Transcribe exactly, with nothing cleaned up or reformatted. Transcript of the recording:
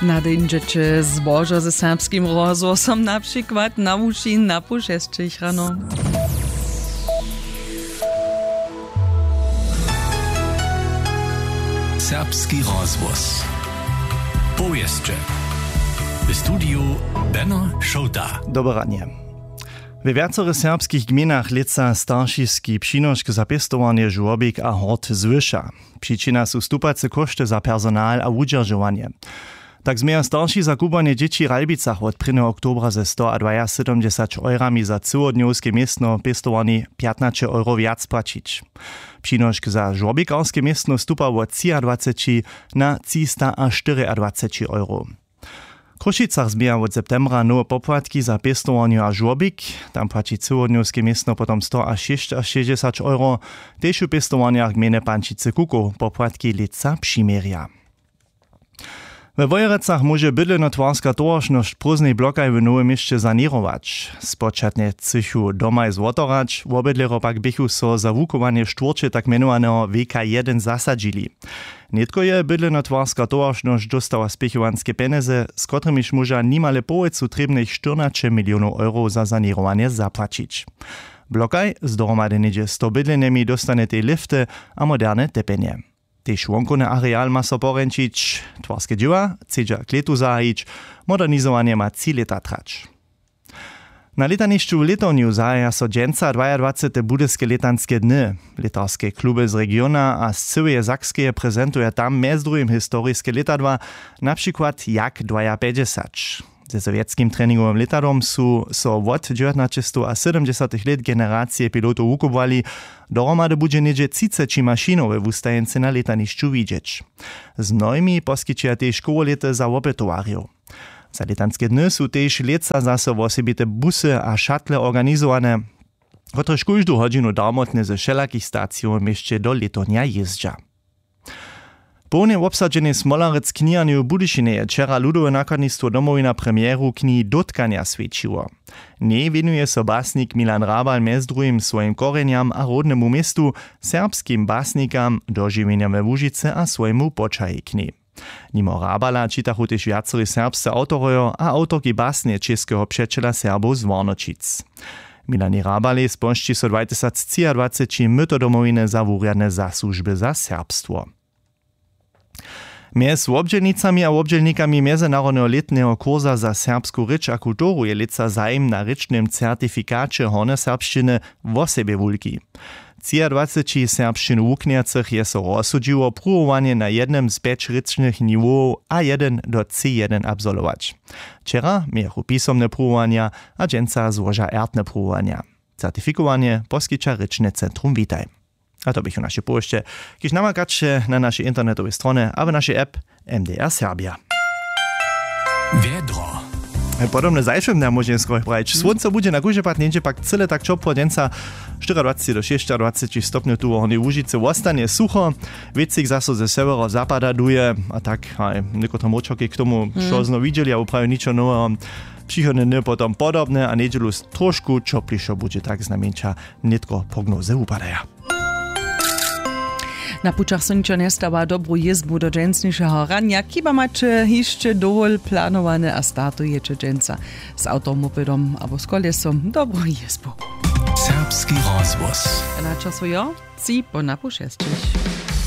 Nadejndźeće zbožo ze serbskim rozhłosom na přikład na wuši na pół šesćich rano. Serbski rozhłos. Powěsće. W studiju Beno Šołta. Dobre ranje. We wjacorych serbskich gmejnach lětsa staršiski přinošk za pěstowarnje žłobik a hort zwyša. Přičina su stupace kóšty za personal a wudźeržowanje. Tak změja starši za kubłanje dźěći w Ralbicach wot prěnjeho oktobra ze stoadwajasydomdźesać eurami za cyłodnjowske městno pěstowarni pjatnaće euro wjac płaćić. Přinošk za žłobikarske městno stupa wot třiadwaceći na třistaaštyriadwaceći euro. W Chrósćicach změja wot septembra nowe popłatki za pěstowarnju a žłobik. Tam płaći cyłodnjowske městno potom stoašěsćašěsćdźesać euro. Tež w pěstowarnjach gmejny Pančicy Kukow popłatki lětsa přiměrja. We Wojerecach móže bydlenotwarska towaršnosć w prózdnej blokaj w Nowym Měsće saněrować. Spočatnje chcychu domaj zwotorać, wobydlerjo pak běchu so za wuchowanje štwórće tak mjenowaneho W K jedyn zasadźili. Nětko je bydlenotwarska towaršnosć dóstała spěchowanske pjenjezy, z kotrymiž móža nimale połojcu trěbnych štyrnaće milionow eurow za saněrowanje zapłaćić. Blokaj z dohromady něhdźe sto bydlenjemi dóstanjetej lifty a moderne tepjenje. Tež wonkowny areal ma so porjeńšić. Twarske dźěła chcedźa k lětu zahajić. Modernizowanje ma tři lěta trać. Na lětanišću w Lětownju zahaja so dźensa dwajadwacete budyske lětanske dny. Lětarske kluby z regiona a z cyłeje Sakskeje prezentuja tam mjez druhim historiske lětadła, na přikład Jak dwajapjećdźesać. Ze sowjetskim treningowym lětadłom su so wot dźewjatnaćestowasydomdźesatych lět generacije pilotow wukubłali. Dohromady budźe něhdźe třiceći mašinow we wustajeńcy na lětanišću widźeć. Z mnohimi poskićeja tež kołolěty za wopytowarjow. Za lětanske dny su tež lětsa zaso wosebite busy a šatle organizowane, kotrež kóždu hodźinu darmotnje ze wšelakich stacijow w měsće do Lětownja jězdźa. W połnje wobsadźenej Smolerec kniharnju w Budyšinje je wčera ludowe nakładnistwo Domowina premieru knihi Dótkanja swjećiło. W njej wěnuje so basnik Milan Hrabal mjez druhim swojim korjenjam a rodnemu městu, serbskim basnikam, dožiwjenjam we Łužicy a swojemu poćahej knihi. Nimo Hrabala čitachu tež wjacorej serbsce awtorojo a awtorki basnje Českeho přećela Serbow z Warnoćic. Milanjej Hrabalej spožči so dwatysactřiadwaceći myto Domowiny za wurjadne zasłužby za serbstwo. Mjez wobdźělnicami a wobdźělnikami mjezynarodneho lětneho kursa za serbsku rěč a kulturu je lětsa zajim na rěčnym certifikaće hornjoserbšćiny wosebje wulki. Třiadwaceći serbšćinu wuknjacych je so rozsudźiło pruwowanje na jednym z pjeć rěčnych niwowow A jedyn do C jedyn absolwować. Wčera mějachu pisomne pruwowanja a dźensa złoža ertne pruwowanja. Certifikowanje poskića rěčne centrum Witaj. A to běchu naše powěsće, kiž namakaće na našej internetowej stronje abo našej app M D R Serbia. Wjedro. Podobne zašłym dnjam móžemy skoro prajić. Słónco budźe na kóždy pad něhdźe pak cyle tak ćopło dźensa. Štyriadwaceći do šěsćadwaceći stopnjow tu w Hornjej Łužicy wostanje sucho. Wětřik zaso ze sewjerozapada duje a tak haj někotre mróčerki k tomu, što znow widźeli abo prawie ničo noweho. Přichodne dny potom podobne a njedźelu tróšku ćoplišo budźe tak znajmjeńša. Nětko prognozy wupadaja. Na pućach so ničo njestawa, dobru jězbu do dźensnišeho ranja. Chiba maće hišće dowol planowane a startujeće dźensa z awtomopedom abo z kolesom, dobru jězbu. Serbski rozhłos. Na času jo tři po napu šesćich.